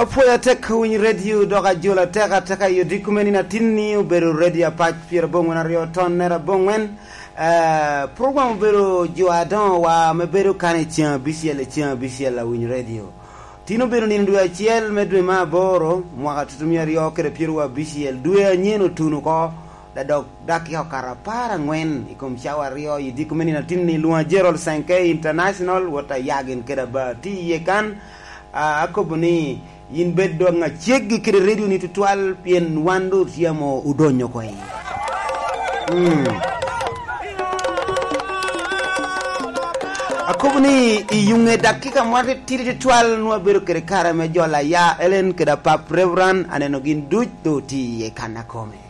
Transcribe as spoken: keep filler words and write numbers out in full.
Apwoyo atek winy redio dok ajolo atek ateka i odiko me nino atin ni obedo redio apac pyerabongwen aryo ton nera abongwen. Eh, program obedo jo adoŋo wa me bedo kan i ceŋ abicel i ceŋ abicel awiny redio. Tin obedo nino dwe acel me dwe me aboro mwaka tutumia aryo kede pyerwa abicel dwe anyen otuno oko. Dadok dakika okato apar angwen i kom cawa aryo i diko me nino atin ni lwonga Gerald Sankey International wot ayagin kede aba ti iye kan. Ah, akobo ni yin bed dwaŋ aceggi kede redio ni tutwal pien wan do otyemo odonyo oko i. Mm. Akobo ni i yuŋe dakika mwati tidi tutwal nwa bedo kede kare me jolo aya Ellen kede apap Reverend aneno gin duc do ti iye kan akome.